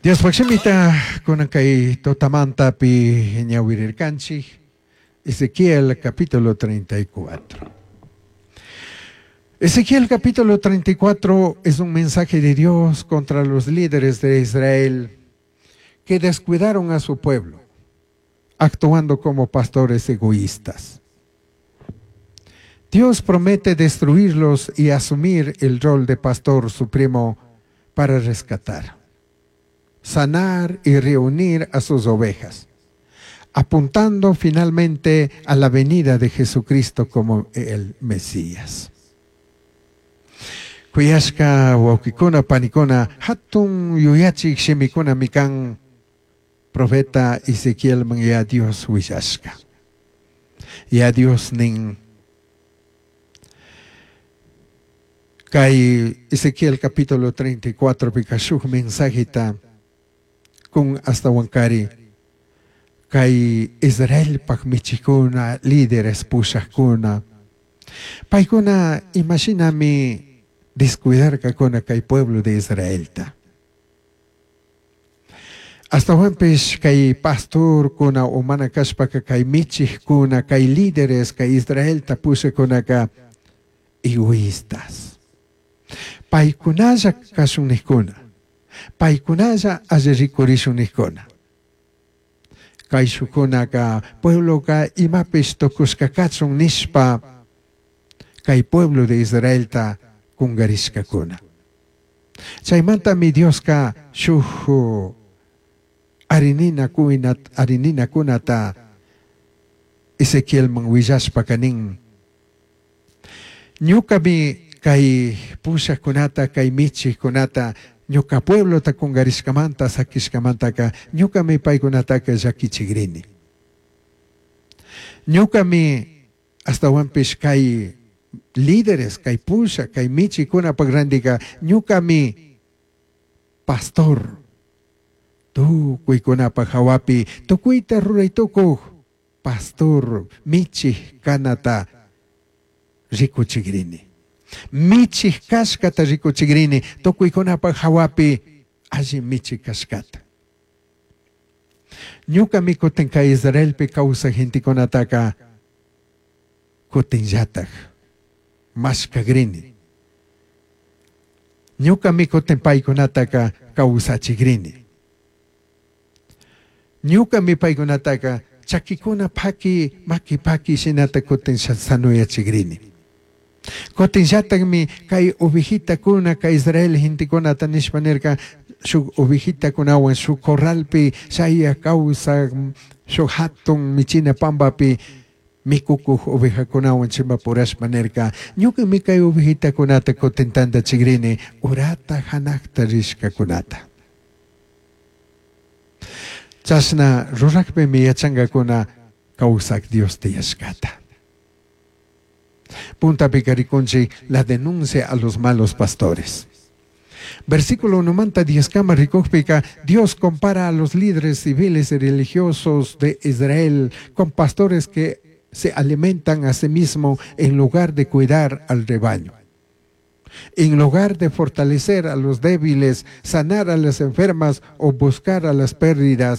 Diospaj shimita kunan kay tutamantapi ñawirirkanchik Ezequiel capítulo 34. Ezequiel capítulo 34 es un mensaje de Dios contra los líderes de Israel que descuidaron a su pueblo, actuando como pastores egoístas. Dios promete destruirlos y asumir el rol de pastor supremo para rescatar, sanar y reunir a sus ovejas, apuntando finalmente a la venida de Jesucristo como el Mesías. Kuyashka wawkikuna panikuna hatun yuyachik shimikunami kan profeta Ezequielman ya Dios willashka. Ya Dios nin kay Ezequiel capítulo 34 pika shuk mensajeta kun ashtawankari kay Israelpak michikuna líderes pushakuna paykuna imashinami descuidarkakuna kay pueblo de Israelta. Ashtawanpish kay pastorkuna o mana kashpaka kay michikuna kay líderes kay Israelta pushakunaka egoístas. Paykunalla kashun nikkuna, paykunalla alli rikurishun nikkuna. Kayshukunaka puebloka imapish tukushka kachun nishpa kay pueblo de Israelta kungarishkakuna. Chaymantami Dioska shuk arinina arininakunata Ezequielman willashpaka nin ñukami kay pushakkunata kay michikkunata ñuka pueblota kungarishkamanta sakishkamantaka ñukami paykunataka llakichikrini. Ñukami ashtawanpish kay líderes kay pusha kay michikunapak randika ñukami pastor tukuykunapak hawapi tukuyta ruray tukuk pastor michik kanata rikuchikrini. Michik kashkata rikuchikrini tukuykunapak hawapi alli michik kashkata. Ñukami kutin kay Israelpi kawsak gentekunataka kutinllatak mashkakrini. Ñukami kutin paykunataka kawsachikrini. Ñukami paykunataka chakikuna paki maki paki shinata kutin sanuyachikrini. Kutinllatakmi kay ovejitakuna kay Israel gentekunata nishpa nirka shuk ovejitakunawan shuk corralpi shaya kawsak shuk hatun michina pambapi mikukuq ovejakunawan chimpapurashpa nirka ñukami kay ovejitakunata kutin tantachikrini urata hanakta rishkakunata. Chashna rurakpimi yachankakuna kawsak Dios tiyashkata. Puntapika rikunchik la denuncia a los malos pastores. Versículo 1 manta 10 kama rikukpika, Dios compara a los líderes civiles y religiosos de Israel con pastores que se alimentan a sí mismos en lugar de cuidar al rebaño. En lugar de fortalecer a los débiles, sanar a las enfermas o buscar a las pérdidas.